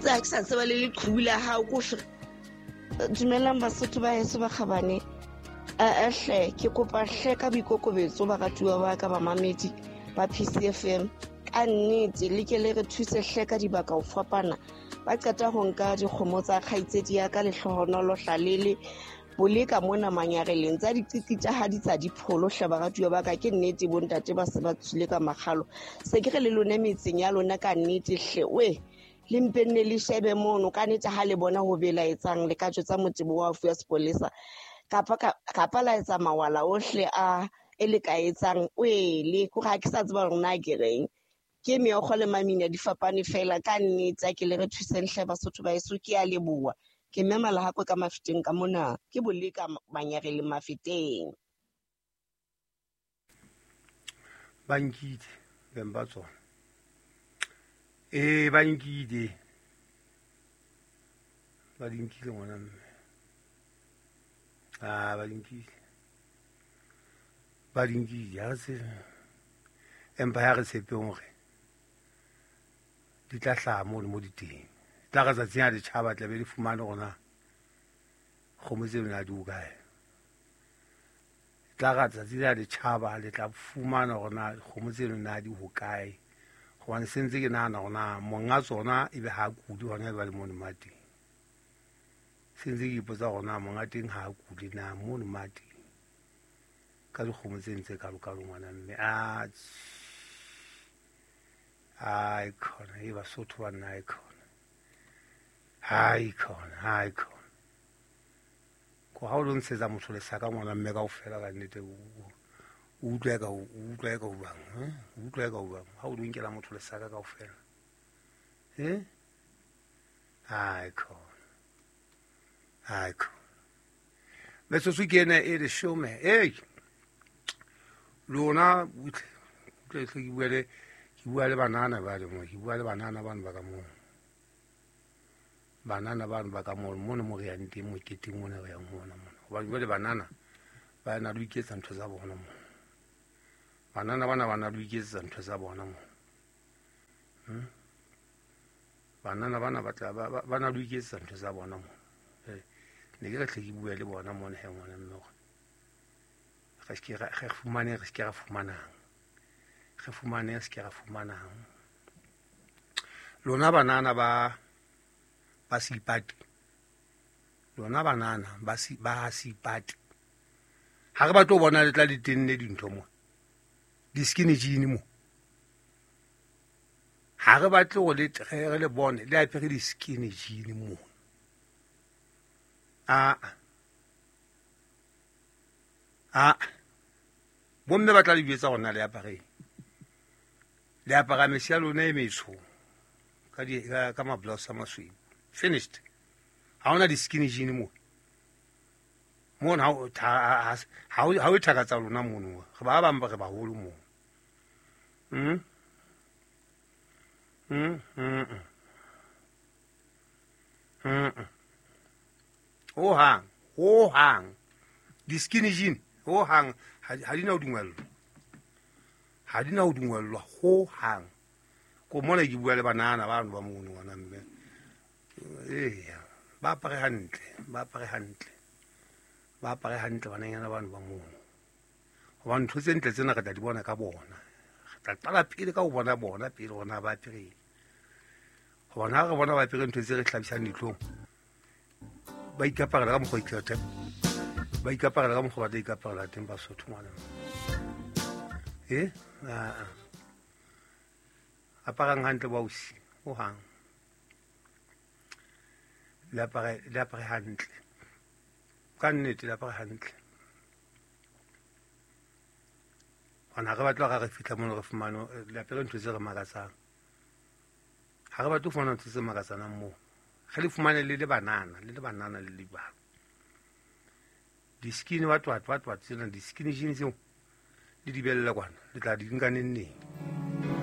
Tse ha ke sa tseba le leqhubu la hao ko Dumelang Basotho ba heso ba kgabane. Hle ke kopa hle ka boikokobetso baratuwa ba ka bamamedi ba PCFM. Ka nnete le ke le re thuse hle ka dibaka ho fapana. Ba qeta ho nka dikgomo tsa kgaitsedi ya ka Lehlohonolo Hlalele boleka mona manyareleng tsa diqiti tsa ha di tsa dipholo hle baratuwa ba ka. Ke nnete bontate ba se ba tswile ka makgalo. Se ke re le lone metseng ya lona ka nnete hle we le mpe nne le shebe mono ka nnete ha le bona ho belaetsang le ka jwetsa motebo wa fuwa sepolesa kapa la etsa mawala ohle a e le ka etsang wele kore ha ke sa tseba hore na ke reng. Ke meokgo le mamina di fapane fela ka nnete a ke le re thuseng hle Basotho ba heso. Ke a leboha. Ke mme Malahakwe ka Mafeteng ka mona. Ke boleka manyareleng Mafeteng. Ba nkile beng ba tsona. Ee, ba nkile. Ba di nkile ngwana mme. Ah, ba di nkile. Ba di nkile. Ha re tsebe. Empa ha re tshepeng hore di tla hlaha mono mo di teng. Tla re tsatsing ha di tjhaba tla be di fumane hore na kgomo tseo na di hokae. Tla re tsatsi la di tjhaba le tla fumana hore na kgomo tseno na di hokae. Hobane se ntse ke nahana hore na monga tsona ebe ha kule hona jwale mono mateng. Se ntse ke ipotsa hore na monga teng ha kule na mono mateng. Ka dikgomo tse ntse kalokalo ngwana mme. Ai khona, e Basotho ba nna ai khona. Ai khona, ai khona. Ko ha o lo ntshetsa motho lesaka ngwana mme kaofela ka nnete o utlwa eka o utlwa eka o bang, o utlwa eka o bang. Ha o lo nkela motho lesaka kaofela. Ai khona. Ai khona. Metsotso ke ena e leshome. Ei. Lona butle ke bua le ke bua le banana ba le mo, ke bua le banana bano ba ka moo. Banana bano ba ka moo mono mo re yang teng moketeng mona re yang ho ona mona. Hobane jwale banana ba na le ho iketsa ntho tsa bona mo. Banana bana ba na le ho iketsetsa ntho tsa bona mo. Banana bana ba tla ba na le ho iketsetsa ntho tsa bona mo. Ne ke re hle ke bua le bona mona he ngwana mme hore re se ke re fumane re se ke ra fumanang. Re fumane re se ke ra fumanang. Lona banana ba Seipati. Lona banana ba Seipati. Ha re batle ho bona le tla le tenne dintho mo. Di-skinny jean mo. Ha re batle hore le re le bone le apere di-skinny jean mo. Bomme ba tla le jwetsa hore na le apareng. Le apara mese ya lona e metsho ka di ka ma-blouse a masweu. Finished. Ha hona di-skinny jean mo. Mono ha o thaka tsa lona mono. Re ba bang ba re baholo mo. Ho hang, ho hang. Di-skinny jean ho hang ha di na ho dungwellwa. Ha di na ho dungwellwa ho hang. Ko mona ke bua le banana bano ba mono ngwana mme. Eya, ba apare hantle, ba apare hantle. Ba apare hantle bananyana bano ba mono. Hobane ntho tse ntle tsena re tla di bona ka bona. Re tla qala pele ka ho bona bona pele hore na ba apereng. Hobane ha re bona ba apere ntho tse re hlabisang dihlong, ba ikaparela ka mokgwa ikgethe. Ba ikaparela ka mokgwa ba tla ikaparela teng Basotho ngwana. Aparang hantle bausi, ho hang. Le apare hantle. Ka nnete le apare hantle. Hona re batla re fihla mono re fumane le apere ntho tse re makatsang. Ha re batle ho fumana ntho tse makatsanang moo. Re le fumane le le banana, le le banana le le bana. Di-skinny what tsena, di-skinny jeans tseo le di belle kwana, le tla di nka neng neng.